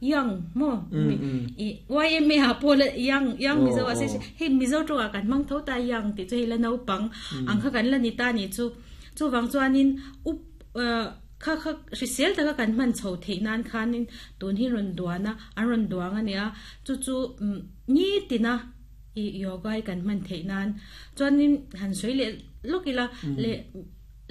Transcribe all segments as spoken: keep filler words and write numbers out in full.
Young mo i Y M A ha pawh la young young Mizo a hei Mizo tawngah kan hmang tho ta young tih chu hei la naupang ang kha kan la ni ta nih chu. Chuvang chuanin up kha kha hrisel taka kan hman chho theih nan khanin tun hi rawn duan a an rawn duang a nia chu chu ni tina i yoga hi kan hman theih nan chuanin han sawi leh lawk ila leh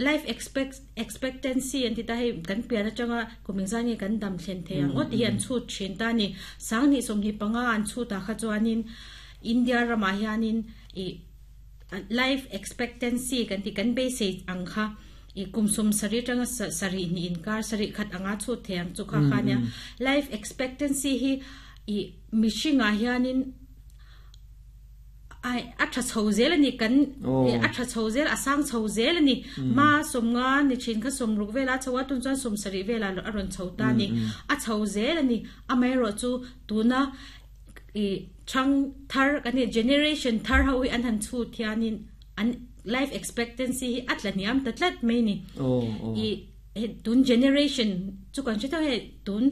life expect expectancy an ti ta hei kan pian atanga kum engzah nge kan dam thlen thei ang aw ti hi an chhut thin ta ni sanghnih sawmhnih panga an chhut ah kha chuanin India ramah hianin i life expectancy kan ti kan beisei ang kha i kum sawm sarih atanga sarih hnih inkar sarih khat anga chhut thei ang chu kha kha nia life expectancy hi i mihringah hianin ai a tha chho zel ani kan a tha chho zel a sang chho zel ani ma sawmnga ni thin kha sawmruk vela chho a tun chuan sawm sarih vela a rawn chho ta ni a chho zel ani amaherawh chu tuna i thang thar kan ni generation thar ho hi an han chhut hianin an life expectancy hi a tla hniam ta tlat mai ni i tun generation chu kan hre theuh hei tun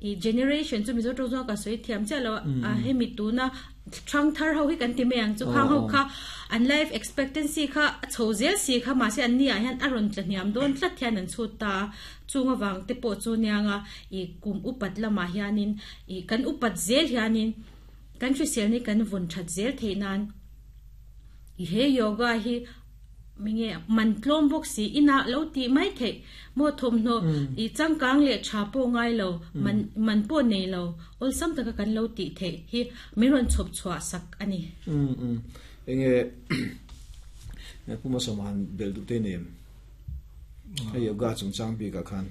i generation chu Mizo tawng chuan ka sawi thiam chiah lo a hemi tuna thang thar ho hi kan ti mai ang chu khang ho kha an life expectancy kha a chho zel si kha mahse an ni ah hian a rawn tla hniam dawn tlat hian an chhut ta a chung awang te pawh chu nianga i kum upat lamah hianin i kan upat zel hianin kan hrisel ni kan vun that zel theih nan i he yoga hi minge man tlawm bawk si ina lo ti mai theih mo thawmhnaw i changkang leh tha pawh ngai lo man man pawh nei lo awlsam taka kan lo tih theih hi min rawn chhawp chhuah sak ani. um um enge puma sawman bel duh te nem a yoga chungchang bik ah khan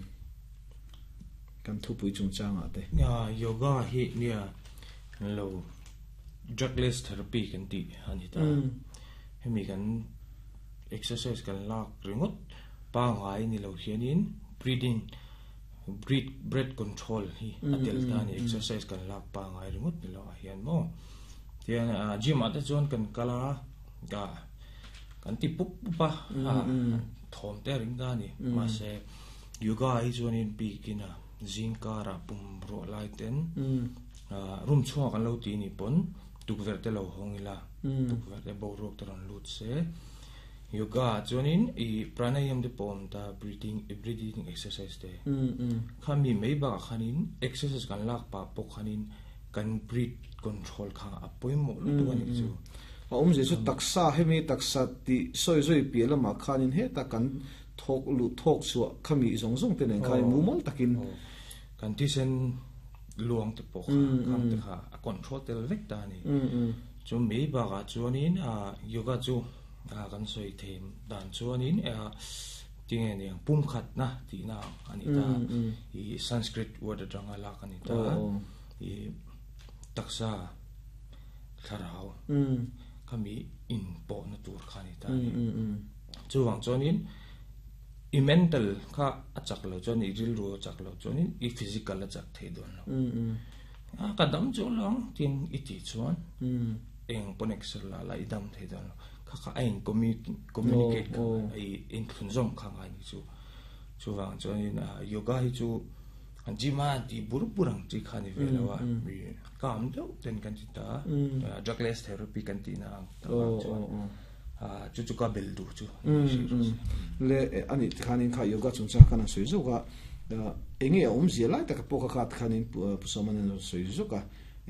kan thupui chungchang ah te ya yoga hi nia lo drugless therapy kan ti ani ta hemi kan exercise kan lak ringot pangai ni lo hianin breathing breath breath control hi atel ta ni exercise kan lak pangai ringot ni lo ah hian mo tian gym ah te chuan kan kala ga kan ti pup pupa a thawm te ring da ni ma se yoga hi chuanin bikina zingkara pum ro lai ten room chhuak kan lo ti ni pon tukverh te lo hawng ila tukverh te boruak te rawn lut se yoga chuanin i pranayam te pawm ta breathing breathing exercise te khami mai bakah khanin exercise kan lak pa pawh khanin kan breath control kha a pawimawh lutuk ani chu a awm ze chu taksa hemi taksa ti sawi zui piah lamah khanin heta kan thawk lu thawk chhuah khami zawng zawng te nen khan mumal takin kan thisen luang te pawh kha khang te kha a control tel vek ta ani chu mai bakah chuanin a yoga chu a kan sawi thei dan chuanin a tinge niang pumkhat na tih na ani ta i Sanskrit word atanga lak ani ta i taksa thlarau khami in pawh na tur kha ani ta chuwang chuanin i mental kha a chak lo chuan i rilru a chak lo chuanin i physical a chak thei dawn lo a ka dam chu lang tin i ti chuan eng pawn exer la la i dam thei dawn lo kha kha a in communicate kha i in thlun zawm kha ngai ni chu chuwang chuanin yoga hi chu gym a ti bur bur ang chi kha ni ve lo a kam deuh ten kan ti ta drugless therapy kan ti na ang chuan chu chu ka bel du chu le ani khanin kha yoga chungchang khan an sawi zawk a enge a awm zia lai taka pawh kha khat khanin pusaman an sawi zawk a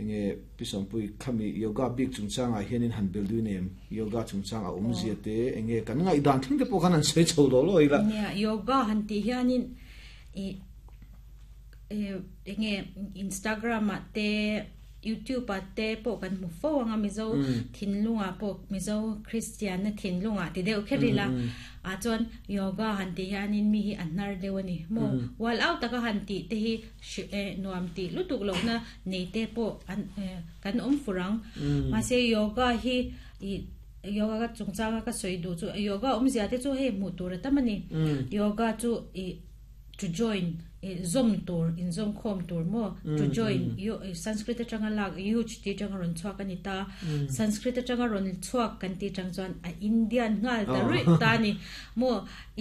enge pisawmpui khami yoga bik chungchangah hianin han bel du nem yoga chungchang a awm zia te enge kan ngaih dan thleng te pawh khan an sawi chho lo lo ila nia yoga han ti hianin i enge Instagram ah te YouTube ah te pawh kan hmu fo anga Mizo thinlunga pawh Mizo Christian na thinlunga ti deuh kher ila a chuan yoga han ti hianin mi hi an hnar deuh ani mo wall out taka han ti te hi nuam ti lutuk lo na nei te pawh an kan awm furang mahse yoga hi i yoga ka chungchanga ka sawi duh chu yoga awmzia te chu hei hmuh tur a tam ani yoga chu i To join zom tur in zom khom tur mo to join yo Sanskrit atanga lak yuj ti tanga ron chuak ani ta Sanskrit atanga ron chuak kan ti tang chuan a Indian ngal ta rui ta ni mo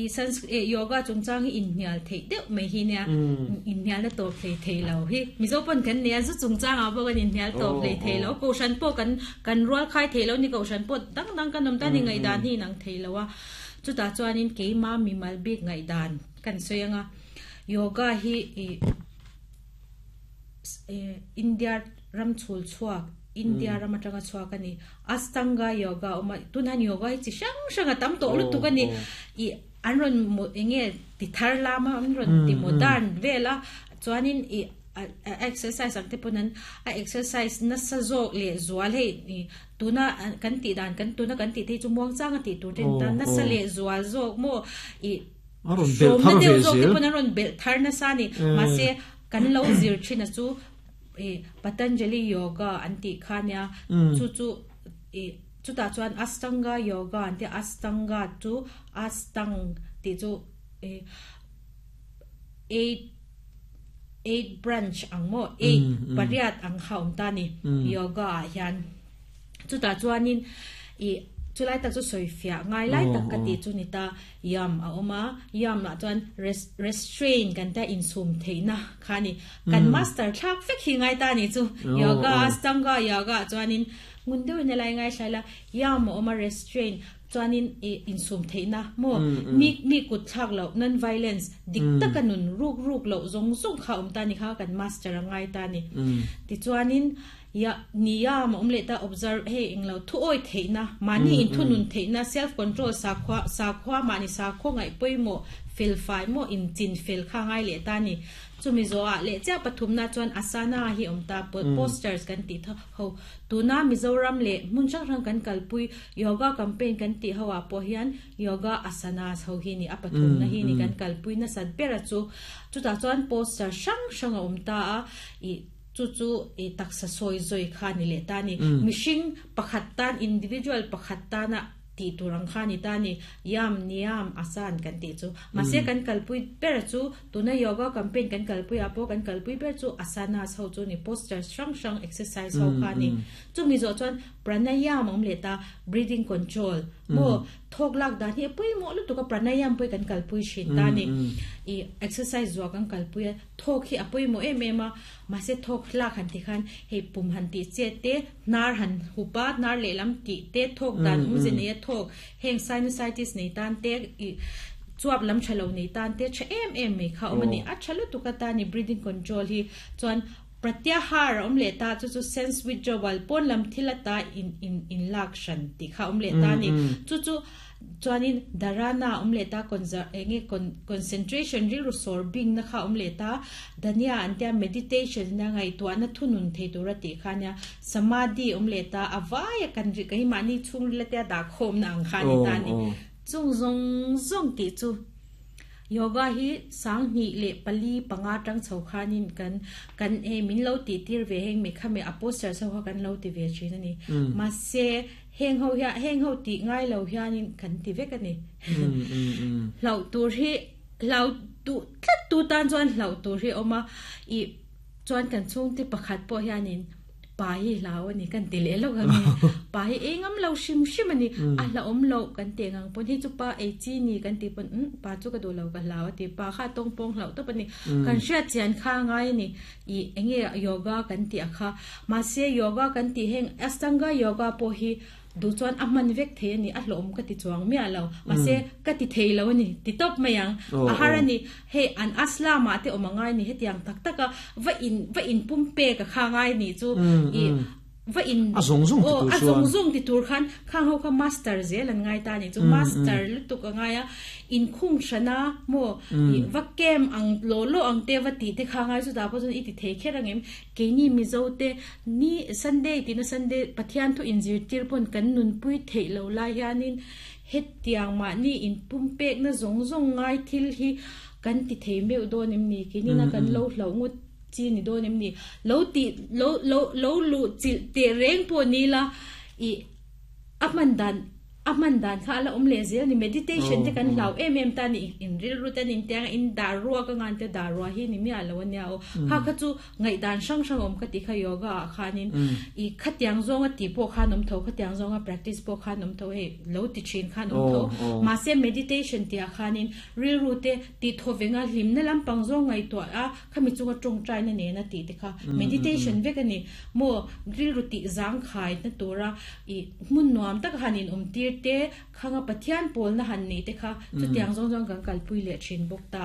i Sanskrit yoga chungchang hi in hnial thei deuh mai hi nia in hnial na to thei thei lo hi Mizo pon kan nia zu chungchang a bo kan in hnial to thei thei lo ko shan po kan kan rual khai thei lo ni ko shan po dang dang kan nom ta ni ngai dan hi nang thei lo a chu ta chuan in keima mi mal bik ngai dan kan soyanga yoga hi India ram chul chuak India ram atanga chuak ani Astanga yoga oma tunan yoga hi chi sang sang atam to lu tu kani i anron enge ti thar lama anron ti modern vela chuanin i exercise ang te ponan a exercise na sa zok le zual hei ni tuna kan ti dan kan tuna kan ti te chu muang chang ti tu ten ta na sa le zual zok mo i aron bel thar ve zel pon aron bel thar na sa ni ma se kan lo zir thina chu e Patanjali yoga anti khania chu chu e chu ta chuan Astanga yoga anti Astanga chu Astang ti chu e eight eight branch ang mo eight pariat ang haum ta ni yoga hian chu ta chuanin e chulai tak chu soi fia ngai lai tak ka ti chu ni ta yam a oma yam la chuan restrain kan ta in sum theina khani kan master thak fek hi ngai ta ni chu yoga Astanga yoga chuanin ngun deuh ne lai ngai thlaila yam a oma restrain chuanin in sum theina mo mi mi kut thak lo non violence dik takanun ruk ruk lo zong zong kha um ta ni kha kan master ngai ta ni ti chuanin ya niyam omle ta observe he inglo thu oi theina mani in thunun theina self control sa khwa sa khwa mani sa kho ngai poimo fel fai mo in chin fel kha ngai le ta ni chumi zo a le cha pathum na chuan asana hi omta posters kan ti tha ho tuna Mizoram le mun chang rang kan kalpui yoga campaign kan ti hawa po hian yoga asanas ho hi ni apathum na hi ni kan kalpui na sat bera chu chu ta chuan poster sang sang omta a i chu chu e taksa soi zoi kha ni le ta ni mishing pakhat tan individual pakhat ta na ti turang kha ni ta ni yam niam asan kan ti chu mase kan kalpui per chu tuna yoga campaign kan kalpui apo kan kalpui per chu asana ho chu ni posture sang sang exercise ho kha ni chu mi zo chuan pranayam om le ta breathing control mo thok lak dan hi pui mo lu tu ka pranayam pui kan kalpui shin ta ni i exercise zo kan kalpui thok hi apui mo em em a mase thok lak han ti khan hei pum han ti che te nar han hupa nar le lam ti te thok dan um je ne thok heng sinusitis nei tan te i chuap lam thalo nei tan te che em em me kha omani a thalo tu ka ta ni breathing control hi chuan pratyahar om le ta chu chu sense withdrawal pon lam thila ta in in in lakshan ti kha om le ta ni chu chu chuanin dharana om le ta enge concentration ril sorbing na kha om le ta dhanya antia meditation na ngai to na thunun the tura ti khania samadhi om le ta awaya kan ri kai mani chung le ta da khom na ang kha ni ta ni chung zong zong ti chu yoga hi sang ni le pali panga tang chho khanin kan kan e min lo ti tir ve heng me khame a poster so kan lo ti ve chin ani ma se heng ho ya heng ho ti ngai lo hianin kan ti vek ani lo tur hi lo tu tlat tu tan chuan lo tur hi oma i chuan kan chung ti pakhat po hianin pa hi lao ani kan ti le lo ga mi pa hi engam lo shim shim ani a la om lo kan te ngang pon hi chu pa e chi ni kan ti pon pa chu ka do lo ka lao ti pa kha tong pong lo to pani kan hria chian kha ngai ni i enge yoga kan ti akha ma se yoga kan ti heng Astanga yoga po hi du chuan a man vek the ani a hlom ka ti chuang mi alo ma se ka ti thei lo ani ti top mayang a harani he an aslama te omangai ni hetiang tak taka va in va in pumpe ka khangai ni chu i va in a zong zong ti tur a zong zong ti tur khan khang ho ka master zel an ngai ta ni chu master lutuk angai a in khung shana mo i va kem ang lo lo ang te va ti te khangai chu da po chun i ti thei kherangem ke ni Mizo te ni Sunday ti na Sunday Pathian thu in zir tir pon kan nun pui thei lo la hianin het tiang ma ni in pumpek na zong zong ngai thil hi kan ti thei meu do nim ni ke ni na kan lo hlo ngut chi ni do nim ni lo ti lo lo lo lu chi te reng po ni la i aman dan aman dan kha ala om le zel ni meditation te kan hlau em em ta ni in ril ru ten in tiang in darua ka ngan te darua hi ni mi alo ania o kha kha chu ngai dan sang sang om ka ti kha yoga khanin i khatiang zonga ti po khan om tho khatiang zonga practice po khan om tho he lo ti chin khan om tho ma se meditation tia khanin ril ru te ti thovenga hlim na lam pang zong ngai to a khami chunga tong trai na ne na ti te kha meditation ve ka ni mo ril ru ti zang khai na tora i mun nuam tak hanin om tir te khanga pathian pol na han ni te kha chu tiang zong zong kan kal pui le chin bok ta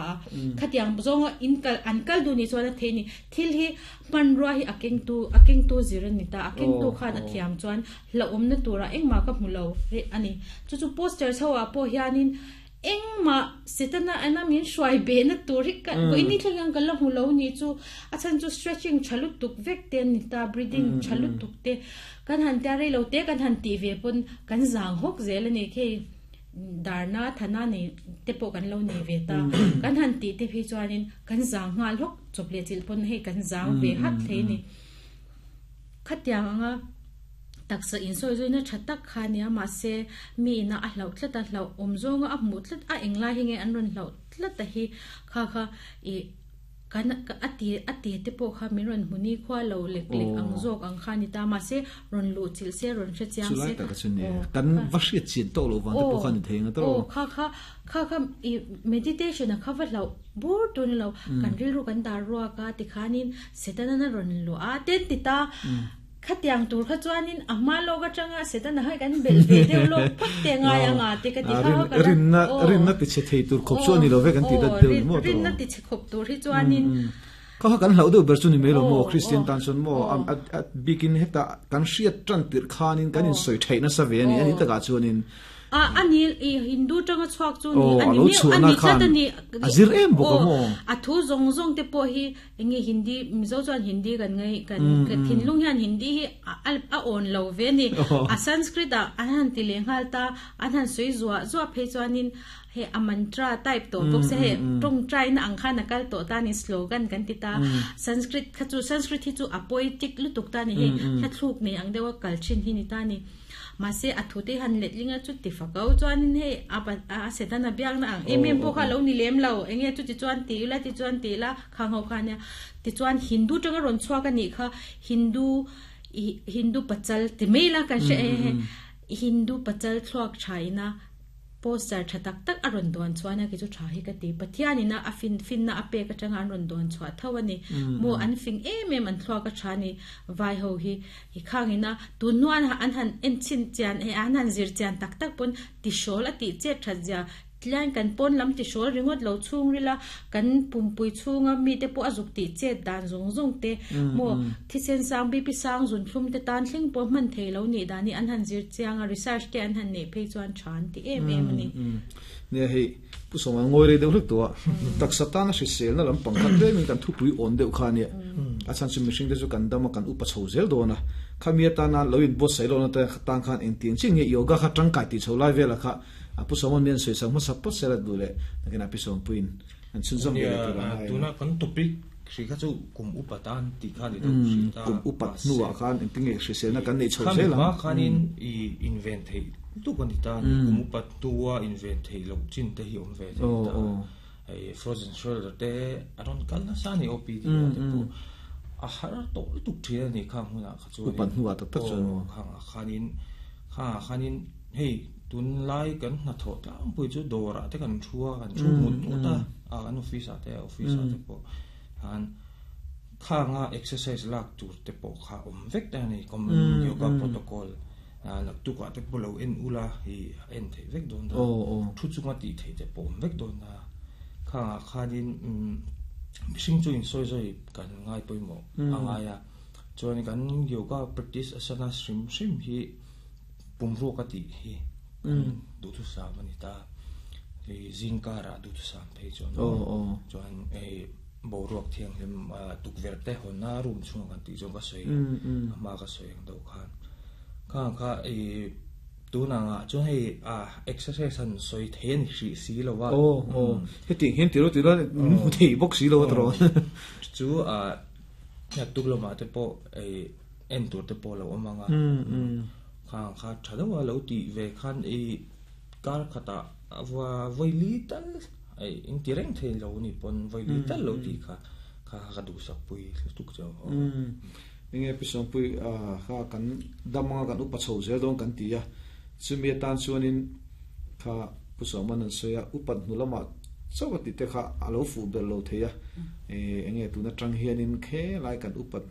khatiang zong in kal an kal du ni chuan the ni thil hi man ro hi akeng tu akeng tu ziran ni ta akeng tu khan a thiam chuan la om na tura engma ka hmulo re ani chu chu poster chawa po hianin engma setana ana min shwai be na turi ka ko ini thlang kan la hmulo ni chu achan chu stretching chalu tuk vek ten ni ta breathing chalu tuk te kan han ta re lo te kan han ti ve pon kan zang hok zel ani khe darna thana ni te po kan lo ni ve ta kan han ti te phi chuanin kan zang ngal hok chople chil pon he kan zang ve hat the ni khatyanga taksa in soi zoina thatak khania ma se mi na a hlau tlat a hlau omzonga a mu tlat a engla hinge an ron hlau tlat a hi kha kha i kan ati ati te po kha mi ron huni khwa lo lek lek ang zok ang khani ta ma se ron lu chil se ron che chiang se ta ka chune kan va hriat chin to lo wan te po khan theinga to kha kha kha kha i meditation a kha va lo bur tu ni lo kan ril ru kan dar ruwa ka ti khanin setana na ron lu a ten ti ta khatiang tur kha chuanin ama lo ka changa setana hai kan bel ve deuh lo phot te nga ya nga te ka ti kha ka rin na rin na ti che thei tur khop chu ani lo ve kan ti da deuh mo rin na ti che khop tur hi chuanin kha kan hlau deuh ber chu ni me lo mo Christian tan chon mo bikin heta kan hriat tran tir khanin kan in soi thei na sa ve ani ani taka chuanin a ani i Hindu tanga chuak chu ni ani mi ani tlat ani azir em bok mo a thu zong zong te po hi enge Hindi mizo chuan Hindi kan ngai kan thinlung hian Hindi hi a on lo ve ni a Sanskrit a an han ti lenghal ta an han soi zuwa zuwa phei chuanin he a mantra type to bok se he tong trai na ang khan akal to ta ni slogan kan ti ta Sanskrit kha chu Sanskrit hi chu a poetic lutuk ta ni he thla thluk nei ang dewa kalchin hi ni ta ni ma se athute han letlinga chu ti fakau chuanin he a a setana biak na ang em em po kha lo ni lem lo enge chu ti chuan ti la ti chuan ti la khang ho kha nia ti chuan Hindu tanga ron chhuak ani kha Hindu Hindu pachal ti mela kan she Hindu pachal thluak thaina poster thatak tak aron don chuana ki chu tha hi ka ti pathianina a fin fin na ape ka tanga an ron don chua thawani mo an fing em em an thluak ka thani vai ho hi hi khangina tu nuan an han en chin chian e an han zir chian tak tak pon ti shol ati che thazia tlan kan pon lam ti shol ringot lo chung rila kan pumpui chunga mi te po azuk ti che dan zong zong te mo thi sen sang bi pi sang zun thlum te tan thling po man thei lo ni dani an han zir chianga research te an han nei phei chuan than ti em em ni ne hei pu soma ngoi re deuh hluk to tak satana hri sel na lam pangkhat le min kan thupui on deuh kha ni a chan chu mihring te chu kan dama kan upa chho zel dona khamia ta na loin bo sai lo na ta tang khan eng tin ching nge yoga kha tangkai ti chho lai vela kha apu somon men soi sang ma sapot sela dule nakina pisom puin an chunzom ge tuna kan topic hri kha chu kum upatan ti kha ni do hri ta kum upat nuwa khan eng tinge hri sel na kan nei chho zela ma khanin i invent thei tu kan ta kum upat tuwa invent thei lo chin te hi om ve ta ai frozen shoulder te aron kal na sa ni O P D te po a har to tuk thia ni khang huna kha chu upat nuwa tak tak chu khang khanin kha khanin hei tun lai kan na tho ta pui chu dora te kan thua kan chu mut ta a an office a te office a te po han kha nga exercise lak tur te po kha om vek ta ni kom yoga protocol lak tu ka te po lo en ula hi en the vek don da thu chu nga ti the te po om vek don na kha kha din missing chu in soi soi kan ngai poi mo anga ya chuan kan yoga practice asana shrim shrim hi pumro ka ti hi du thu sa mani ta i zingkara du thu sam phei chuan chuan e boruak thiang hlim tukver te hona room chung kan ti jong ka sei ama ka sei ang do khan kha kha e tu na nga chuan hei a exercise han soi then hri si lo wa o o he ting hin ti ro ti ro mu thei bok si lo tro chu a ya tuk lo ma te po e en tur te po lo amanga Kha kha thadawa lo ti ve khan e kar khata wa voili tal ai in ti reng thei lo ni pon voili tal lo ti kha kha ka du sak pui tuk chau um inge pisom pui a kha kan damanga kan upa chho zel don kan ti ya chumi tan chuanin kha pusoman an soya upat nulama chawati te kha alo fu ber lo theya e enge tuna tang hianin khe lai kan upat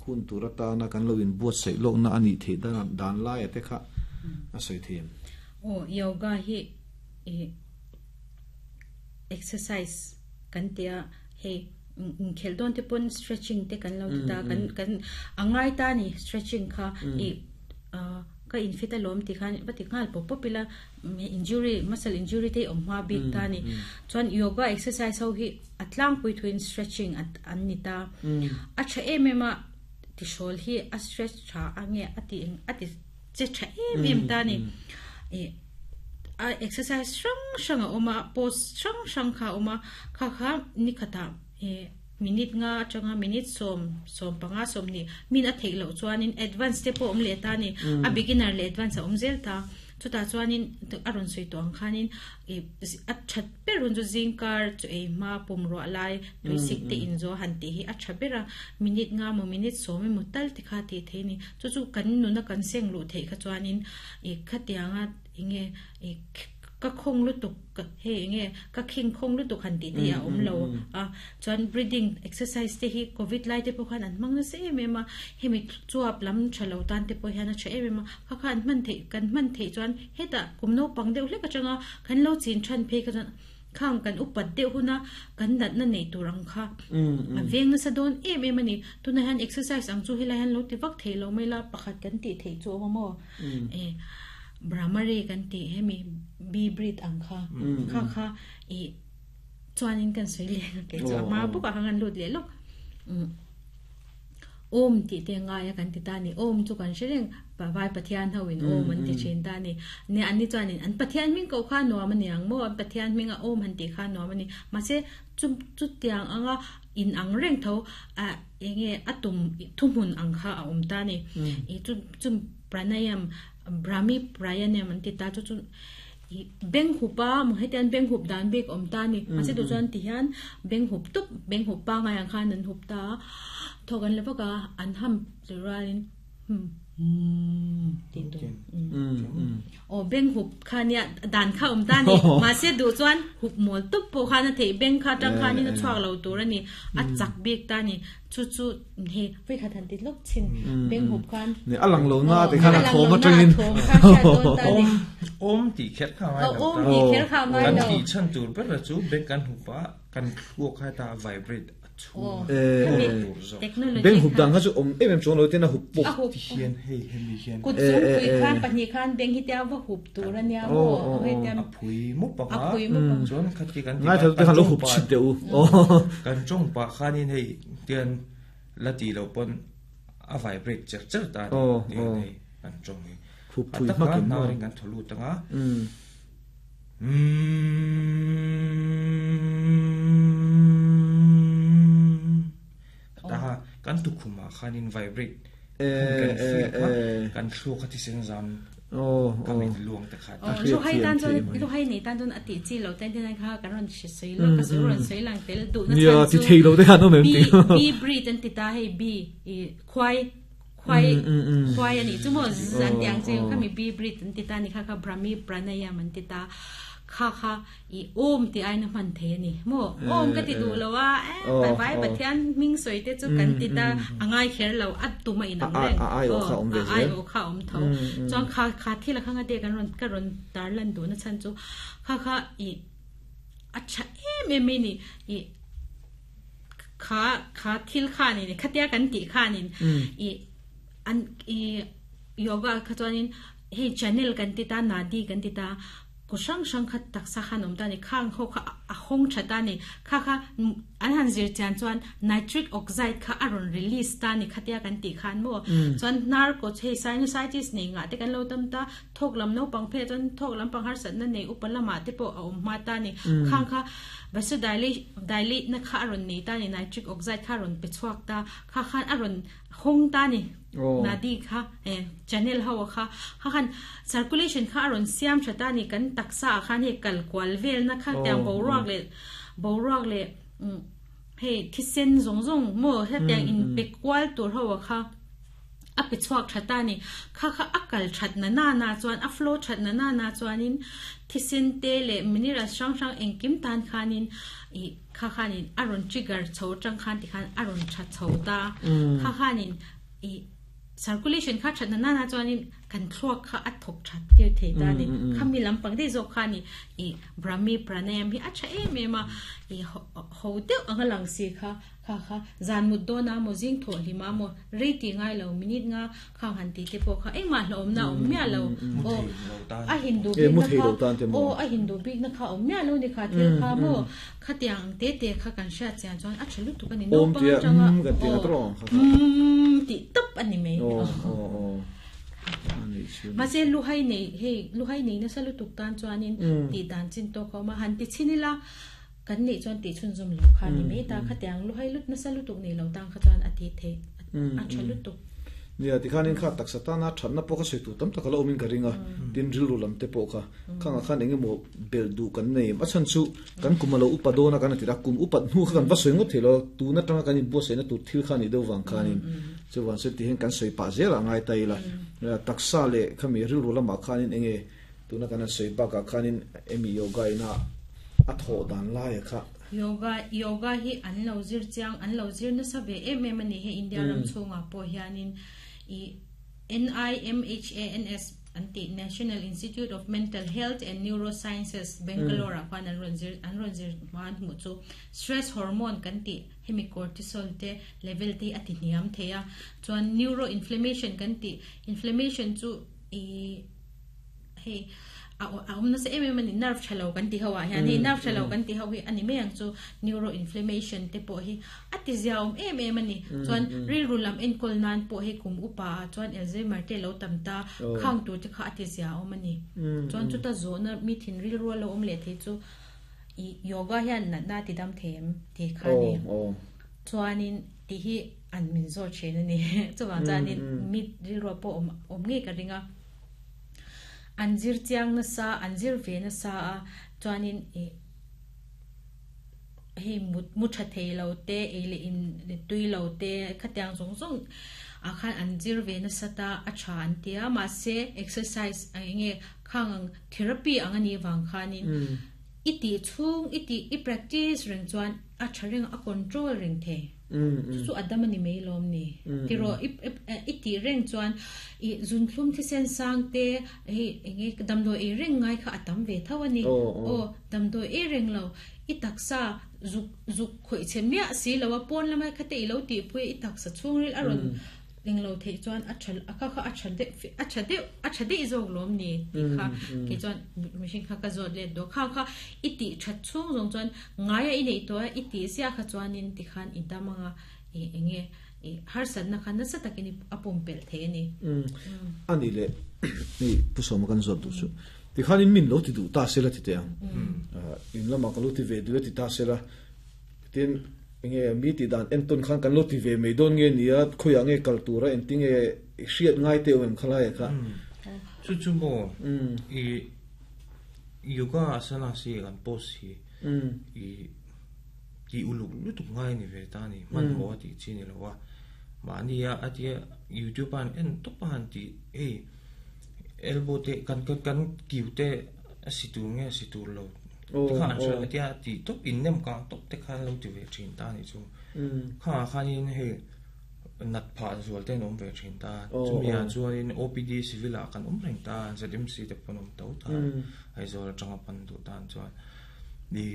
hun turata na kan loin buat sei lo na ani the dan dan lai te kha a sei them o yoga hi e exercise kan tia he khel don te pon stretching te kan lo ta kan kan angai ta ni stretching kha e ka infit alom ti khan pati ngal pop popila injury muscle injury te om ma big ta ni chuan yoga exercise ho hi atlang pui thuin stretching at an ni ta a cha em em a ti shol hi a stretch tha ange ati ati che tha em em ta ni e a exercise sang sang a oma pose sang sang kha oma kha kha ni khata e minute nga changa minute som som panga som ni min a theilo chuanin advance te pawh awm leh ta ni a beginner le advance a awm zel ta chuta chuanin a rawn sawi tawh ang khanin a that ber hun chu zingkar chu ei hma pum ruah lai tuisik te in zo han tih hi a tha bera minute nga maw minute sawm emaw tal te kha tih thei ni chu chu kan nuna kan seng luh theih kha chuanin e khatianga enge e ka khong lu tuk he nge ka khing khong lu tuk han ti te a om lo a chuan breathing exercise te hi covid lai te pawh khan an hmang nasa em em a hemi chuap lam thalo tan te pawh hian a tha em em a kha khan hman thei kan hman thei chuan heta kum naupang deuh hlek atanga kan lo chin than phei kha chuan khang kan upat deuh huna kan nat na nei turang kha a veng nasa dawn em em ani tuna hian exercise ang chu helai hian lo ti vak thei lo mai la pakhat kan ti thei chu awm maw e Brahmari kan ti hemi bi breathe ang kha kha kha i chuanin kan soi le ke chu ma bu ka hangan lut le lok om ti te nga ya kan ti ta ni om chu kan shreng pa vai pathian hoin om an ti chin ta ni ne an ni chuanin an pathian ming ko kha no man yang mo an pathian ming a om han ti kha no mani ma se chu chu tiang anga in ang reng tho a enge atum thumun ang kha a om ta ni i chu chu pranayam Brahmi pranayam an ti ta chu chu beng hupa mo hetian beng hup dan bek om ta ni ase tu chuan ti hian beng hup tup beng hup pa ngai ang khan an hup ta thokan levaka an ham lerain hmm tin tu o beng hup khania dan kha om ta ni ma se du chuan hup mol tup po khana thei beng kha tang khani na chuak lo tur ani a chak bek ta ni chu chu he ve kha than ti lok chin beng hup khan ne alang lo na te khana thom a tangin om om ti khet kha mai lo om ti khet kha mai lo kan ti chan tur ber chu beng kan hupa kan thluak kha ta vibrate beng hup dang kha chu om em em chong lo te na hup pok ti hian hei hemi hian kut chung pui khan pahnih khan beng hi tia va hup tur ania mo hei tia a phui mu pa a phui mu pa chuan khat ki kan ti ngai thal te khan lo hup chit deu kan chong pa khanin hei tian la ti lo pon a vibrate cher cher ta ni hei kan chong hi hup phui ma kin na ring kan tholu tanga ta kan tu khuma khanin vibrate kan feel kha kan thlu kha ti sen zam oh kan luang ta kha lu hai tan chon lu hai nei tan chon ati chi lo tan tin kha kan ron soi lo ka soi ron soi lang tel du na chan chu ti thei lo te kha no mem ti b breathe an ti ta hei b khwai khwai khwai ani chu mo zan tiang che kha mi b breathe an ti ta ni kha kha brahmi pranayam an ti ta kha kha i om ti ai na man the ni mo om ka ti du lo wa e pai pathian ming soi te chu kan ti ta angai kher lo at tu ma in ang reng a ai o kha om ve ai o kha om tho chuan kha kha thi la khanga te kan ron ka ron tar lan du na chan chu kha kha i acha em em ni i kha kha thil kha ni khatia kan ti kha ni i an i yoga kha chuanin hei channel kan ti ta nadi kan ti ta ko sang sang khat tak sa khan om ta ni khang kho kha a hong thata ni kha kha an han zir chan chuan nitric oxide kha aron release ta ni khatia kan ti khan mo chuan nar ko chei sinusitis ni nga te kan lo tam ta thok lam no pang phe chuan thok lam pang har sat na nei upalama te po a om ma ta ni khang kha Vasodilate na kha aron nei ta ni nitric oxide kha ron pe chuak ta kha khan aron hong ta ni nadi kha channel hawa kha kha khan circulation kha aron siam thata ni kan taksa khan he kal kwal vel na kha tiang bo ruak le bo ruak le he thisen zong zong mo he tiang in pe kwal tur hawa kha a pe chuak thata ni kha kha akal that na na na chuan a flow that na na na chuanin thisen te le mineral sang sang engkim tan khanin i kha khanin aron trigger chho tang khan ti khan aron that chho ta kha khanin i circulation kha that na na na chuanin kan thluak kha a thok that tir thei ta ni khami lampang dei zo khani i brahmi pranayam hi acha em em a i ho deuh anga lang si kha kha kha zan mut do na mo jing tho lima mo reti ngai lo minute nga khang han ti te po kha engma hlom na om mya lo o a hindu bi na kha o a hindu bi na kha om mya lo ni kha thil kha mo kha tiang te te kha kan sha chian chuan a thelu tu kan ni no pa changa um ti top ani me o o o ma se lu hai nei hei lu hai nei na salu tuk tan chuanin ti dan chin to ko ma han ti chinila kan nei chuan ti chun zum lo kha ni me ta kha tiang lu hai lut na salu tuk nei lo tang kha chuan ati the a thalu tuk nia ti khanin kha taksata na thatna po kha sui tu tam takala omin ka ringa tin ril ru lam te po kha khanga khan enge mo bel du kan nei a chan chu kan kumalo upadona kan atira kum upat nu kha kan va soi ngot thelo tu na tanga kan in bo se na tu thil khan i do wang khanin chu wan se ti hen kan soi pa zela ngai tai la taksa le khami ril ru lama khanin enge tu na kan soi ba ka khanin emi yoga ina a tho dan la ya kha yoga yoga hi an lo zir chiang an lo zir na sa ve em em ani he India ram chunga po hianin i N I M H A N S anti National Institute of Mental Health and Neurosciences Bangalore kwan an ron zir an ron zir man mu chu stress hormone kan ti hemi cortisol te level te ati niam theya chuan neuroinflammation kan ti inflammation chu i he a um na se em em ani nerve thalo kan ti hawa hian hei nerve thalo kan ti hawi ani me ang chu neuroinflammation te po hi ati ziaum em em ani chuan ril rulam en kol nan po he kum upa chuan Alzheimer te lo tamta khang tu te kha ati ziaum ani chuan chu ta zo na mi thin ril ru lo om le the chu i yoga hian na na ti dam them te kha ni chuanin ti hi an min zo chen ani chuwang chuanin mi ril ru po om om nge ka ringa anjir chiang na sa anjir ve na sa a chuanin e hei mut mu tha thei lo te e le in tui lo te khatiang zong zong a khan anjir ve na sa ta a tha an tia ma se exercise nge khang therapy angani wang khanin iti chung iti i practice reng chuan a tha reng a control reng the chu adamani mei lom ni tiro iti reng chuan i zun thlum thi sen sang te hei enge damdo e reng ngai kha atam ve thawani o damdo e reng lo i taksa zuk zuk khoi chemia si lawa pon lamai khate ilo ti pui i taksa chungril aron ling lo thei chuan a thal aka kha a thal de a tha de a tha de zok lom ni ti kha ke chuan machine kha ka zot le do kha kha iti that chung zong chuan ngaia i nei to iti sia kha chuan in ti khan i damanga e enge e har san na khan na sa takini apum pel the ni ani le ni pusom kan zot du chu ti khan in min lo ti du ta se la ti te ang in lama ka lo ti ve du ti ta se la tin nge mi ti dan enton khan kan lo ti ve mei don nge nia khoya nge kaltura en tinge hriat ngai te om khala ya kha chu chu mo i yoga asana si kan post hi i ti uluk lu tu ngai ni ve ta ni man mo ti chi ni lo wa ma ni ya atia youtube an en to pan ti e elbow te kan kan kan kiu te situ nge situ lo kha an sha tia ti top in nem ka top te khan lo ti ve thin ta ni chu kha khan in he nat pha zual te nom ve thin ta chumi a chuan in O P D civil a kan om reng ta Z M C te pon om to ta ai zol tanga pan du tan chuan di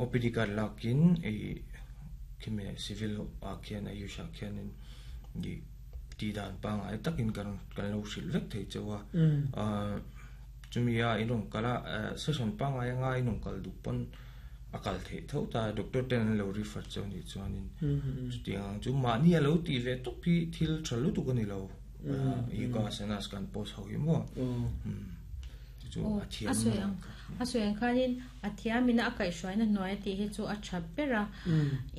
O P D kar lakin e khime civil a khian a yusha khian in di ti dan pang ai takin kan kan lo sil vek thei chewa a chumi a inong kala session pang ai nga inong kal du pon akal the tho ta doctor ten lo refer cheu ni chuanin chutiang chu ma ni lo ti ve to pi thil thalu tu ni lo yoga asanas kan post ho hi mo chu a thiam a soi ang a soi ang khanin a thiamina a kai hruaina hnuai ti hi chu a tha bera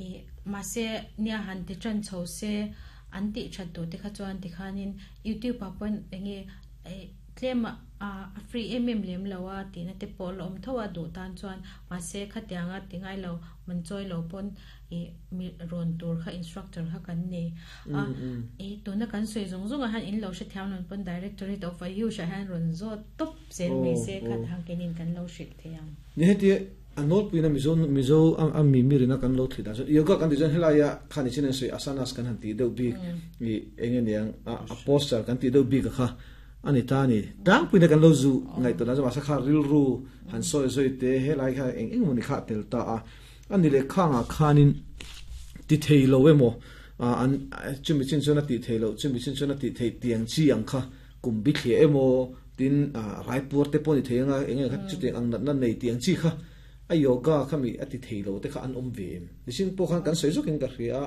e mase nia han ti tran chho se an ti that tu te kha chuan ti khanin youtube pa pon enge tlema a free mm lem lowa ti na te pol om thowa du tan chuan mase khatianga tingai lo man choi lo pon e mi ron tur kha instructor kha kan nei a e tuna kan soi zong zong a han in lo she thiam non pon directorate of ayush a han ron zo top zen me se kha thang kenin kan lo shit theyang ni heti anol puina mizo mizo am mi mi rina kan lo thida so yoga kan design helaya khani chen soi asanas kan han ti deuh bik ni enge niang a posture kan ti deuh bik kha ani ta ni dang puina kan lo zu ngai to na sa kha ril ru han soi soi te helai kha eng eng muni kha tel ta a ani le khanga khanin ti theilo emo an chumi chin chona ti theilo chumi chin chona ti thei tiang chi ang kha kum bi thlie emo tin raipur te poni theinga enge kha chu te ang na nei tiang chi kha a yoga khami ati theilo te kha an om ve nisin po khan kan soi zokin ka ria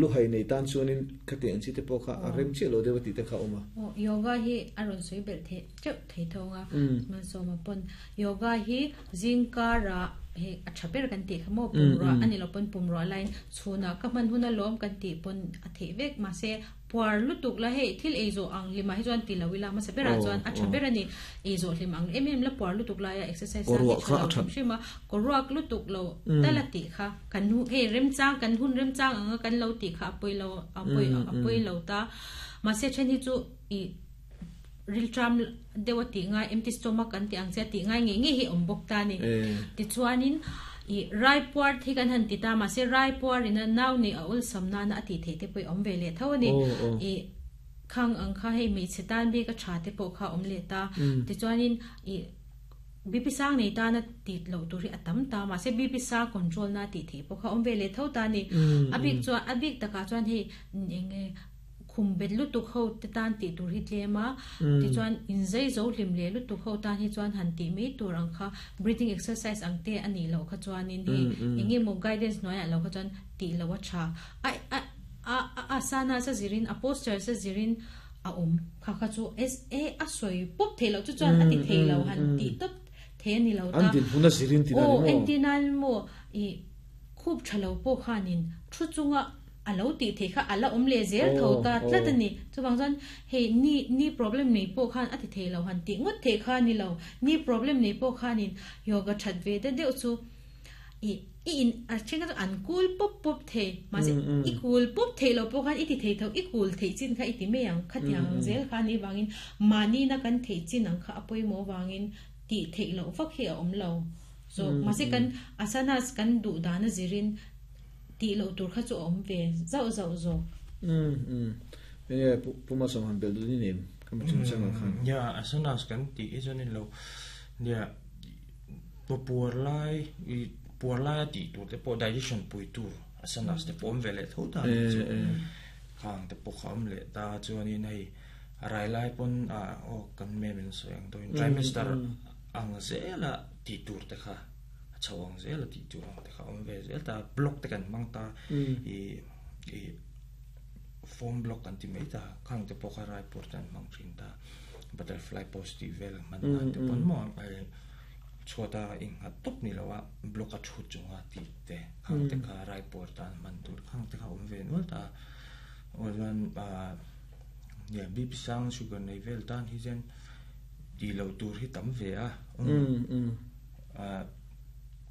lu hai nei tan chuanin khatiang chi te po kha arem chi lo dewati te kha oma o yoga hi aron soi bel the cheu thei thonga man so ma pon yoga hi zingkara he achaper kan ti khamo pumro ani lo pon pumro line chuna ka man huna lom kan ti pon athe vek ma se puar lutuk la he thil ezo ang lima hi chuan tilawila ma se pera chuan achaper ani ezo hlim ang em em la puar lutuk la ya exercise a a shima koruak lutuk lo talati kha kan hu he rem chang kan hun rem chang anga kan lo ti kha apoi lo apoi apoi lo ta ma se chen hi chu i riltram dewati nga empty stomach kan ti ang che ti ngai nge nge hi ombok ta ni ti chuanin i rai puar thi kan han ti ta ma se rai puar ina naw ni a ul samna na ati the te poi om ve le thawani i khang ang kha hei mi chetan bi ka tha te po kha om le ta ti chuanin i B P sang nei ta na ti lo turi atam ta ma se B P sa control na ti the po kha om ve le tho ta ni abik chuan abik taka chuan hi enge khumbet lu tu kho te tan ti tur hi tlema ti chuan in zai zo hlim le lu tu kho tan hi chuan han ti mi tur ang kha breathing exercise ang te ani lo kha chuan in hi enge mo guidance noya lo kha chuan ti lo wa cha a a asana sa zirin a posture sa zirin a um kha kha chu s a a soi pop thelo chu chuan ati thelo han ti top the ni lo ta an din huna zirin ti na mo entinal mo i khup thalo po khanin thu chunga alo ti the kha ala om le zel tho ta tlatani chuwang chuan hei ni ni problem nei po khan ati the lo han ti ngot the kha ni lo ni problem nei po khanin yoga that ve de deuh chu i in a chenga an cool pop pop the ma se i cool pop the lo po khan i ti the tho i cool the chin kha i ti me ang khatiang zel kha ni wangin mani na kan the chin ang kha apoi mo wangin ti the lo fak he om lo so ma se kan asanas kan du dana zirin ti lo tur kha chu om ve zau zau zo um um e puma som han bel du ni nem kam chung chang khan ya asanas kan ti e chuan lo ya po puar lai i puar lai ti tur te po digestion pui tur asanas te pom ve le tho ta chu khang te po kham le ta chuan in hei rai lai pon a o kan me min so yang to in trimester ang zela ti tur te kha chawang zel ti tu ang te kha om ve zel ta block te kan mang ta i i form block kan ti mai ta khang te pokha rai por tan mang thin ta butterfly post ti vel man na te pon mo ai chota ing ha top ni lawa block a thu chunga ti te khang te kha rai por tan man tur khang te kha om ve no ta oran a ya B P sang sugar nei vel tan hi zen ti lo tur hi tam ve a um um a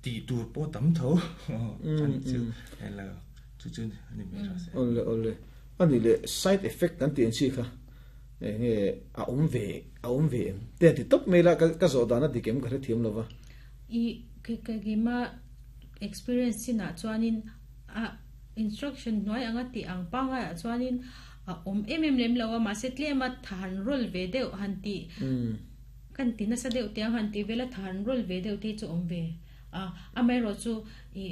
ti tur po tam tho ani chu hello chu chu ani me ra se ole ole ani le side effect kan ti chi kha nge a om ve a om ve te ti top me la ka zo dana dikem ka thiam lova i ke ke gi ma experience na chuanin a instruction noi anga ti ang panga chuanin a om em em lem lawa ma se tle ma than rol ve deuh han ti kan ti na sa deuh te han ti vela than rol ve deuh te chu om ve a amai ro chu i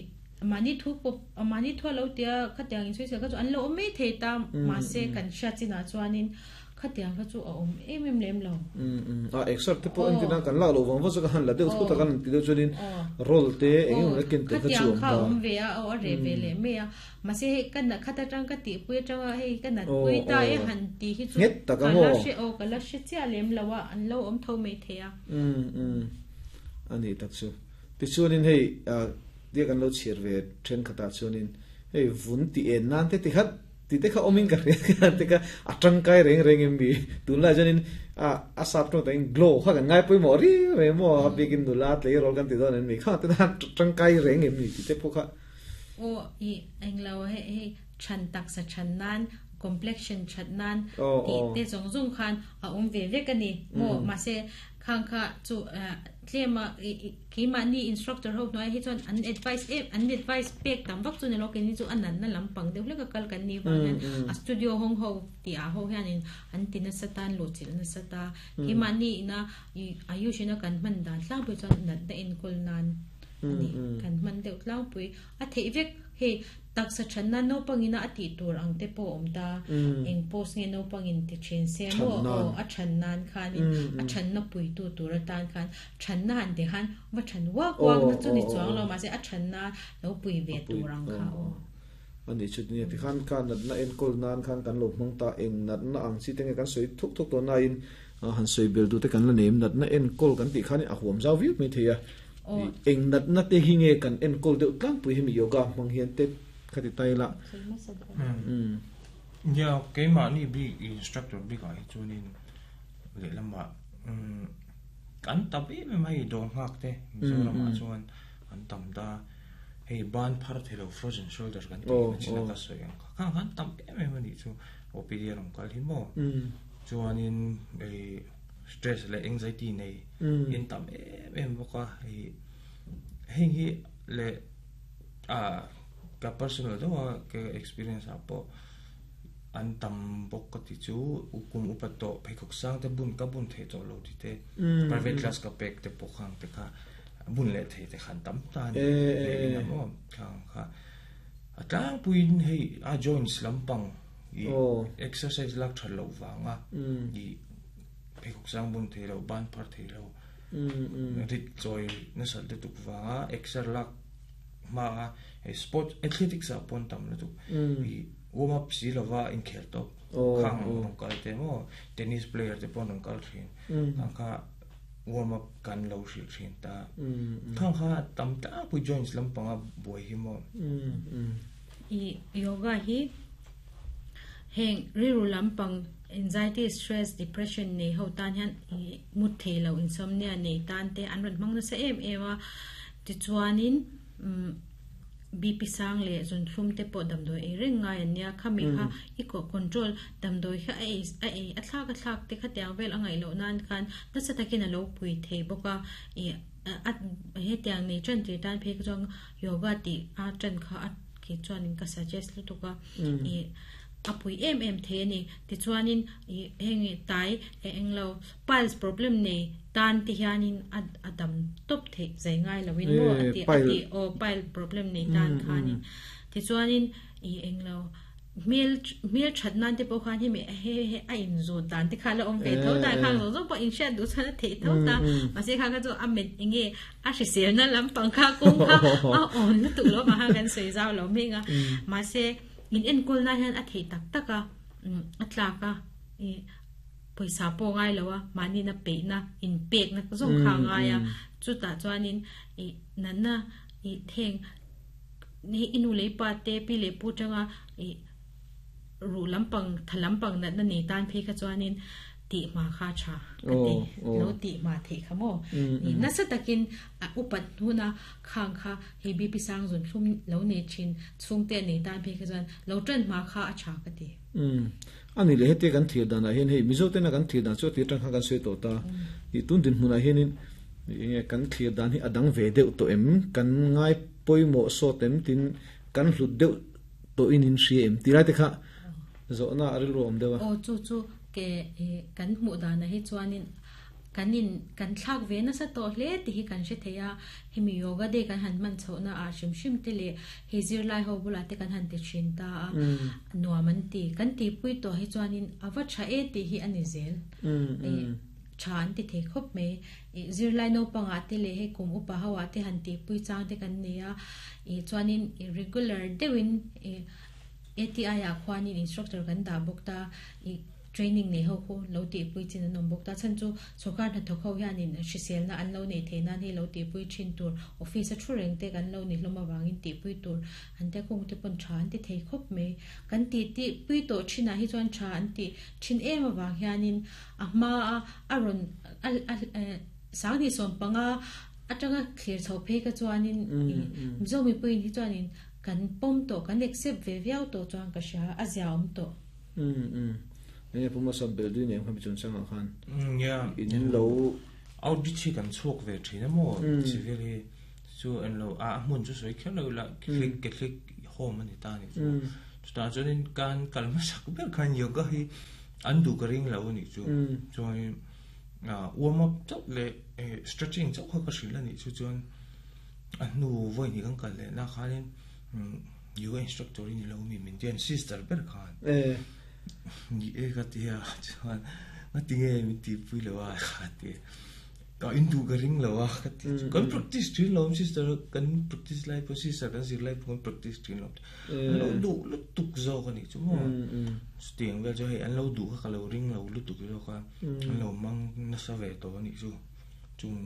mani thu pop mani thu lo tia khatiang in sui se ka chu an lo me the ta ma se kan sha china chuanin Khatiang kha chu a om em em lem lo um um a exer te po en tina kan la lo wang wa ka han la deuh thu ta kan ti deuh chuanin roll te eng eng la ken te kha chu om ta om ve a o a re ve le me a ma se kan na khata tang ka ti pui tang a hei kan na pui ta e han ti hi chu nget ta ka mo la she o ka la she chia lem lo a an lo om tho mai the a um um ani tak chu ti chuanin hei a dia kan lo chir ve then khata chuanin hei vun ti en nan te ti khat ti te kha omin ka re te ka atang kai reng reng em bi tun la janin a a sap to tang glow kha kan ngai pui mo ri re mo a bikin du la tle rol kan ti don en mi kha te na tang kai reng em ni ti te pho kha o i eng lo he he chan tak sa chan nan complexion chat nan ti te zong zong khan a om ve ve ka ni mo ma se khang kha chu tlema ki ma ni instructor ho noi hi chuan an advice em an advice pek tam vak chu ne lo ke ni chu anan na lampang deuh leka kal kan ni wa hian a studio hong ho ti a ho hian in an tin na satan lo chil na sata ki ma ni na ayushina kan man dan tlang pui chuan nat na in kul nan ani kan man deuh tlang pui a thei vek he tak sa chan na no pangina ati tur ang te po om ta eng post nge no pangin ti chen se mo o a chan nan khan in a chan na pui tu tur tan khan chan na han de han wa chan wa kwang na chu ni chuang lo ma se a chan na lo pui ve tur ang kha o ani chu ni ti khan kan nat na en kol nan khan kan lo mong ta eng nat na ang chi te nge kan soi thuk thuk to na in han soi bel du te kan la nem nat na en kol kan ti khan a huam zau vi mai theia eng nat na te hi nge kan en kol deuh tlang pui hi mi yoga mang hian te khati tai la um ya ke ma ni bi instructor bi ka chu nin le lama um kan tabi me mai dong hak te mizoram a chuan an tam da hei ban phar thelo frozen shoulder kan ti china ka soi ang kha kan tam em em ani chu O P D rom kal hi mo chuanin ei stress le anxiety nei in tam em em boka hei hei hi le a ka personal do ka experience apo an tam bok ka ti chu ukum upato pheikhok sang te bun ka bun the to lo ti te private class ka pek te pokhang te kha bun le the te khan tam ta ni le ina mo khang kha atlang puin hei a joints lampang i exercise lak thal lo wanga i pheikhok sang bun the lo ban phar the lo rit choi na sal te tuk wanga exer lak ma sport athletics a pon tam na tu i warm up si lova in khel to khang rong kal te mo tennis player te pon rong kal thin khang kha warm up kan lo shi thin ta khang kha tam ta pu joints lampanga boi hi mo i yoga hi heng riru lampang anxiety stress depression nei ho tan hian mut thei lo insomnia nei tan te an ran mang na sa em em a ti chuanin B P sang le zun thlum te po damdoi e reng ngai ania khami kha i ko control damdoi kha a a a thlak a thlak te kha tiang vel angai lo nan khan na sa takin a lo pui thei boka e a he tiang nei chan ti tan phe chong yoga ti a chan kha a ki chuan ka suggest lu tuka e apui em em the ni ti chuanin heng tai eng lo piles problem nei tan ti hianin adam top the zai ngai lawin mo ati ati o pile problem nei tan khanin ti chuanin i eng lo mel mel that nan te po khan hi me he he a in zo dan te khala om ve tho ta khang zo zo po in sha du chana the tho ta ma se kha ka zo a met nge a shi sel na lam pang kha kong kha a on na tu lo ma ha kan sei zau lo me nga ma se in en kol na hian a thei tak taka a tlaka e poisa po ngai lowa mani na pe na in pek na zong kha nga ya chu ta chuanin e nana e theng ni inu le pa te pi le pu tanga e ru lampang thalampang na na ni tan phe kha chuanin ti ma kha cha ka ti lo ti ma the kha mo ni na sa takin upat huna khang kha he B P sang zun thlum lo ne chin chung te nei tan phe kha chuan lo tran ma kha a cha ka ti um ani le hete kan thir dana hen hei mizo te na kan thir dan chu ti tang kha kan sui to ta i tun din hmuna henin nge kan thir dan hi adang ve deuh to em kan ngai poimo so tem tin kan hlut deuh to in in hri em ti lai te kha zo na aril ro om dewa o chu chu ke kan mu dana hi chuanin Kanin kan thlak ve na sa to hle ti hi kan hre theia hemi yoga de kan han man chho na a shim shim te le he zir lai ho bula te kan han te thin ta a nuam an ti kan ti pui to hi chuanin awa tha e ti hi ani zel chan ti the khop me zir lai no panga te le he kum upa hawa te han ti pui chang te kan nia e chuanin regular dewin A T I a khwanin instructor kan da bokta e training nei ho khu lo ti pui chin an om bokta chan chu sokar na thokho hianin hrisel na an lo nei theina ni lo ti pui thin tur office a thu reng te kan lo ni hloma wangin ti pui tur an te khung te pon than ti thei khop me kan ti ti pui to thina hi chuan tha an ti thin em awang hianin a hma a aron sang ni som panga atanga clear chho phe ka chuanin mizo mi pui hi chuanin kan pom to kan accept ve viau to chuan ka sha a ziaom to um um ne puma sam bel du ne khami chun changa khan ya in lo audit chi kan chuak ve thina mo civil hi chu en lo a mun chu soi khelo la click click home ani ta ni chu ta chuan kan kalma sak ber khan yoga hi an du ka ring lo ni chu chuan a warm up chau le stretching chau kha ka shrila ni chu chuan a nu voi ni kan kal le na khanin yoga instructor ni lo mi min tian sister ber khan eh ni e ka tia chuan ma tinge mi ti pui lo a kha ti ka in du ka ring lo a ka ti kan practice thin lo sister kan practice lai po sister kan zir lai po kan practice thin lo lo du lu tuk zo ka ni chu mo stiang vel jo hei an lo du kha ka lo ring lo lu tuk zo ka an lo mang na sa ve to ni chu chung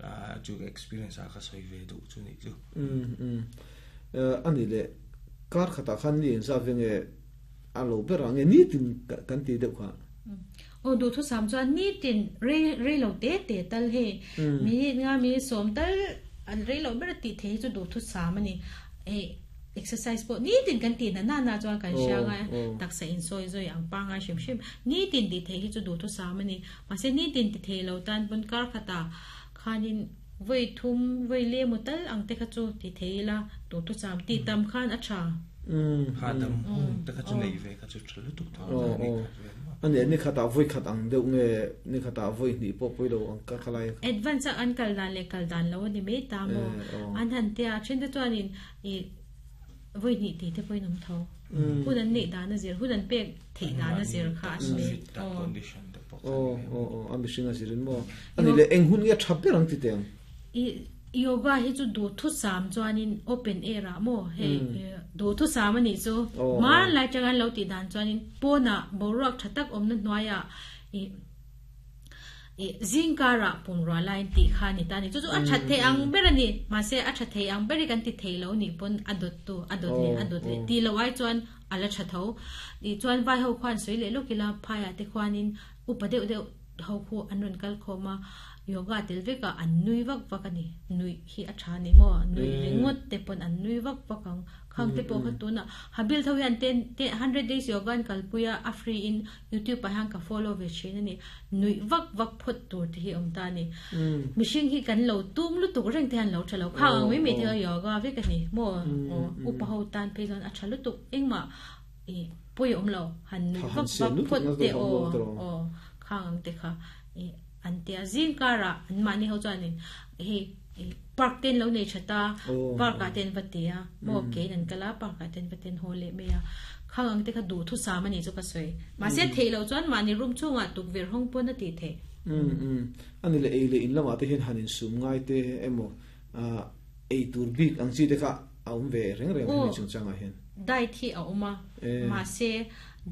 a chu experience a ka soi ve du chu ni chu um um ani le kar khata khan ni za venge alo berang ni tin kan ti deuh kha o du thu sam chuan ni tin re re lo te te tal he mi nga mi som tal an re lo ber ti the chu du thu sam ani e exercise po ni tin kan ti na na na chuan kan sha nga taksa in soi zoi ang pa nga shim shim ni tin ti the hi chu du thu sam ani ma se ni tin ti the lo tan bun kar khata khanin voi thum voi le mu tal ang te kha chu ti theila tu thu sam ti tam khan a tha um ha dam hun ta kha chu nei ve kha chu thlu tuk tha ni ani ni khata voi khat ang deuh nge ni khata voi ni po pui lo ang ka khalai advance an kal dan le kal dan lo ni me ta mo an han te a chen te chuanin e voi ni ti te poi nom tho hun an nei dan a zir hun an pek thei dan a zir kha me condition te po o o o ambition a zirin mo ani le eng hun nge thap berang ti teng i yoga hi chu du thu sam chuanin open air a mo he du thu sam ani chu ma lai changan lo ti dan chuanin pona boruak thatak omna hnuaia i e zingkara pumra line ti khani tani chu chu a that the ang berani ma se a that the ang beri kan ti theilo ni pon adot tu adot le adot le ti lo ai chuan ala thatho ni chuan vai ho khwan soi le lokila phaya te khwanin upa deuh deuh ho khu anron kal khoma yoga telveka an nui vak vakani nui hi a tha ni mo nui ringot te pon an nui vak vakang khang te po khatuna habil thawian ten hundred days yoga an kalpuya a free in youtube pa hang ka follow ve chin ani nui vak vak phot tur ti hi om ta ni mishing hi kan lo tum lu tuk reng te han lo thalo khang mi mi the yoga ve ka ni mo upa ho tan pe zon a thalu tuk engma e poi om lo han nui vak vak phot te o o khang te kha e an te zingkara an mani ho chuanin he park ten lo nei thata park a ten vatia mo ke nan kala park a ten vaten ho le me ya khang te kha du thu sa mani chu ka soi ma se theilo chuan mani room chunga tuk ver hong pon na ti the um um ani le eile in lama te hin hanin sum ngai te emo a ei tur bik ang chi te kha aum ve reng reng ni chung changa hen diet hi a uma ma se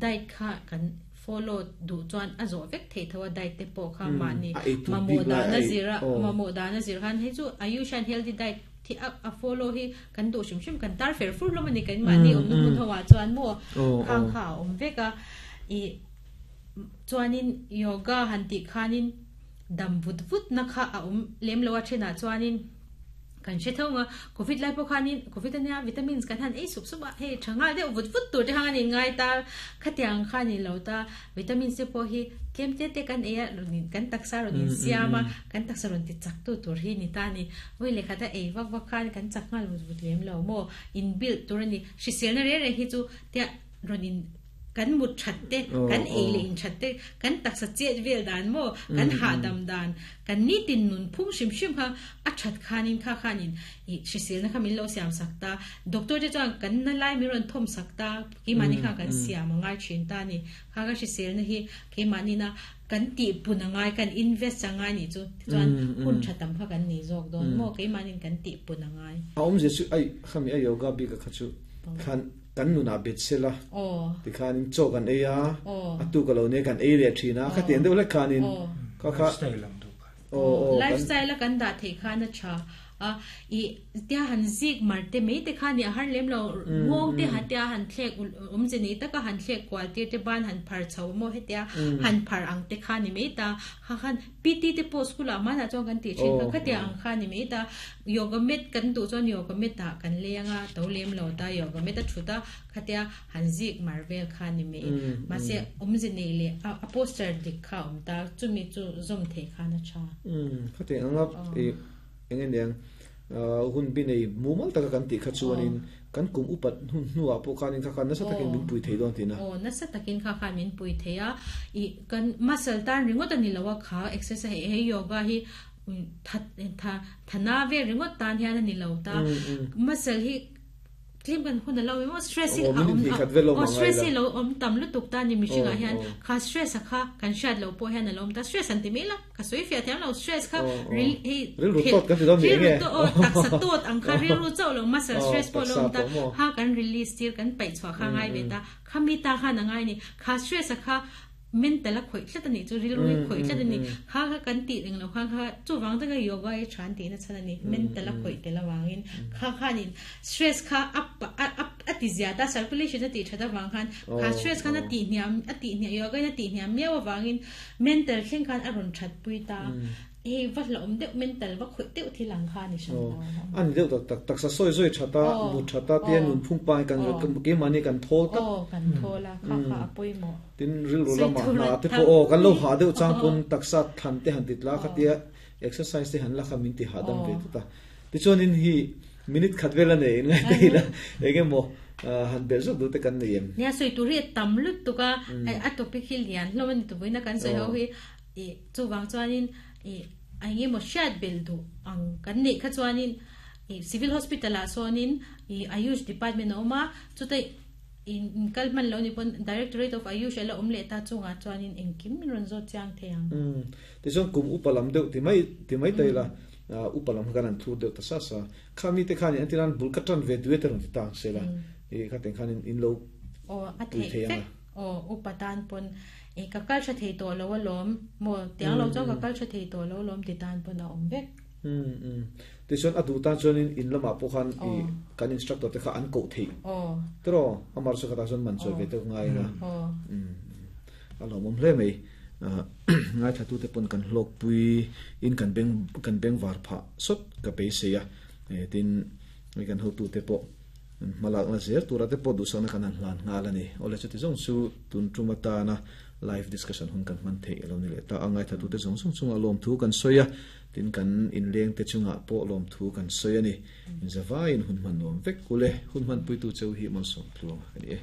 diet kha kan follow du chuan a zo vek thei thawa diet te po kha ma ni mamo da na zira mamo da na zir han he chu ayushan healthy diet thi a follow hi kan du shim shim kan tar fer fur lo mani kan ma ni om nu thawa chuan mo khang kha om veka i chuanin yoga han ti khanin dam vut vut na kha a um lem lowa thena chuanin kan she thonga covid lai po khanin covid ania vitamins kan han ei sup sup he thanga de vut vut tur te hangani ngai ta khatiang khani lo ta vitamin c po hi kem te te kan e runin kan taksa runin siama kan taksa run ti chak tu tur hi ni ta ni voi le khata ei wak wak khan kan chak ngal vut vut lem lo mo in build tur ni hrisel na re re hi chu te runin kan mut thatte kan eile in thatte kan taksa chet vel dan mo kan ha dam dan kan ni tin nun phung shim shim kha a that khanin kha khanin i hrisel na kha min lo siam sakta doctor te chuan kan na lai mi ron thom sakta ki mani kha kan siam ngai thin ta ni kha ka hrisel na hi ke mani na kan ti punangai kan invest angai ni chu chuan hun thatam kha kan ni jok don mo ke manin kan ti punangai aum je chu ai khami ai yoga bi ka kha chu khan kan nu na bet sela ti khan in cho kan eya atu ka lo ne kan ei le thina kha ten deuh le khanin ka kha style lam du kha lifestyle kan da the kha na cha a i tia han zik marte me te kha ni har lem lo ngong te hatia han thlek um je ni ta ka han thlek kwal te te ban han phar chho mo he tia han phar ang te kha ni me ta kha khan pt te post school ma na chong kan ti thin kha kha tia ang kha ni me ta yoga mat kan tu chon yoga mat ta kan lenga to lem lo ta yoga mat ta thuta kha tia han zik marvel kha ni me ma se um je ni le a poster dik kha um ta chumi chu zom the kha na cha um kha te anga e engen yang hun bi nei mumal taka kan ti kha chuanin kan kum upat hun nuwa po kanin kha kan na sa takin min pui thei don tina o na sa takin kha kha min pui theia i kan muscle tan ringot ani lawa kha exercise he yoga hi that tha thana ve ringot tan hian ani lo ta muscle hi tlim kan hun lo mo stress hi o stress hi lo om tam lu tuk ta ni mi shinga hian kha stress kha kan shat lo po hian lo ta stress an ti mela ka soi fia thiam lo stress kha ril he ril ru tot kan ti dom ni nge o tak sa tot ang kha ril ru chau lo muscle stress po lo ta ha kan release tir kan pai chwa kha ngai ve ta khami ta kha na ngai ni kha stress kha mental a khoi tlat ani chu ril ru khoi tlat ani kha kha kan ti ring lo kha kha chu wang ta yoga e than ti na chan ani mental a khoi te la wangin kha kha ni stress kha up up ati zia ta circulation ati thada wang khan kha stress kha na ti niam ati nia yoga na ti niam mewa wangin mental thleng khan aron that pui ta e va lom deuh mental va khoi teuh thilang kha ni shan an deuh tak tak tak sa soi soi thata mu thata te nun phung pai kan ke mani kan thol tak o kan thola kha kha apoi mo tin ril ru lama na te po o kan lo ha deuh chang pun taksa than te han titla kha tia exercise te han la kha min ti ha dam ve ta ti chuan in hi minute khat vela nei ngai te la enge mo han bel zo du te kan nei em nia soi tu ri tam lut tu ka a topic hi lian lo man tu buina kan soi ho hi e chu wang chuanin e ai nge mo shat bel du ang kan nei kha chuanin e civil hospital a sonin e ayush department oma chutai in kalman lo ni pon directorate of ayush ala omle ta chunga chuanin engkim min ron zo chiang theang um ti chon kum upalam deuh ti mai ti mai tai la upalam kan an thu deuh ta sa sa khami te khani antiran bul ka tran ve duet ron ti tang sela e kha ten khanin in lo o a the o upatan pon e ka kal tha thei to lo lom mo tiang lo chau ka kal tha thei to lo lom ti tan pon a om vek um um ti chon adu tan chon in in lama po khan i kan instructor te kha an ko thei o tro amar so kha ta chon man choi ve te ngai na o um alo mom hle mei ngai thatu te pon kan hlok pui in kan beng kan beng war pha sot ka pe se ya tin mi kan hotu te po malak na zer tura te po du sang na kan hlan ngal ani ole chu ti jong chu tun tumata na live discussion hun kan man thei alo ni le ta angai thatu te jong sung chung alom thu kan soya tin kan in leng te chunga po lom thu kan soya ni in zawa in hun man nom vek kule hun man pui tu cheu hi mon som tluang ani e.